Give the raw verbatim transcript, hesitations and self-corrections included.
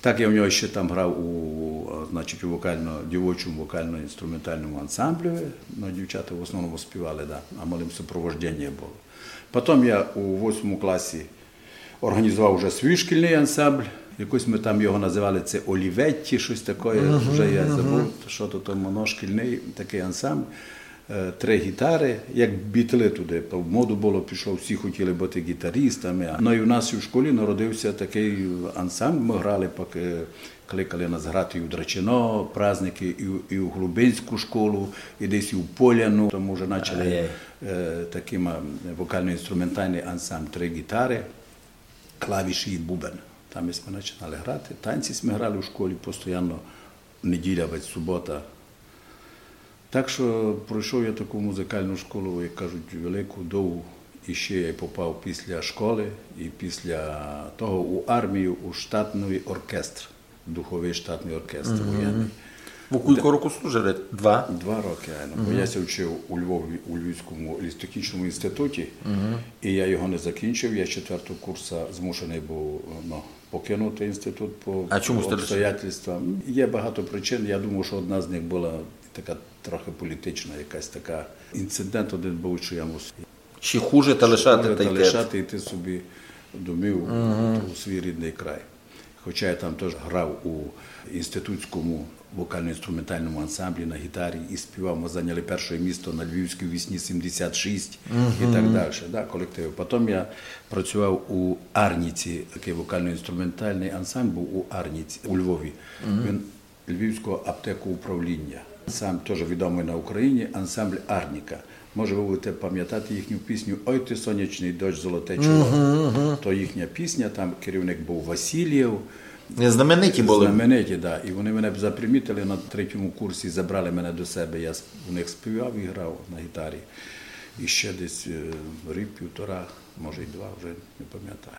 Так я в нього ще там грав у, е, значить, у вокально, дівочому вокально-інструментальному ансамблі. Ну, дівчата в основному співали, да, а малим супровождення було. Потім я у восьмому класі організував вже свій шкільний ансамбль. Якось ми там його називали, це Оліветті, щось таке. Вже я забув, що то там воно, шкільний такий ансамбль. Е, три гітари, як бітли туди. То в моду було, пішло, всі хотіли бути гітаристами. Ну і в нас у школі народився такий ансамбль. Ми грали, пак, е, кликали нас грати і у Драчино праздники, і, у- і у Глубинську школу, і десь і у Поляну. Тому вже почали е, таким, е, вокально-інструментальний ансамбль, три гітари, клавіші і бубен. Там ми починали грати. Танці ми грали у школі постійно, неділя, вадь субота. Так що пройшов я таку музикальну школу, як кажуть, велику, довгу. І ще я попав після школи і після того у армію, у штатний оркестр, духовий штатний оркестр воєнний. Вы кілько років служили? Два? Два роки, айно. Бо я ся вчив у Львові, у Львівському лісотехнічному інституті, і я його не закінчив. Я з четвертого курсу змушений був, ну, покинути інститут по А чому ж ти обстоятельствам. Є багато причин. Я думаю, що одна з них була така трохи політична, якась така інцидент один був, що я мусив Ще хуже та лишати та та йти. Лишати йти собі домів у свій рідний край. Хоча я там теж грав у інститутському вокально-інструментальному ансамблі на гітарі і співав. Ми зайняли перше місце на Львівській весні сімдесят шість і так далі. Да, колективи. Потім я працював у Арніці, такий вокально-інструментальний ансамбль був у Арніці у Львові. Він Львівського аптекоуправління. Сам теж відомий на Україні ансамбль Арніка. Може, ви будете пам'ятати їхню пісню «Ой ти, сонячний дощ, золоте чоло». То їхня пісня, там керівник був Васильєв. Знамениті були. Знамениті, да. І вони мене запримітили на третьому курсі, забрали мене до себе. Я с- у них співав і грав на гітарі. І ще десь е, рік, півтора, може й два, вже не пам'ятаю.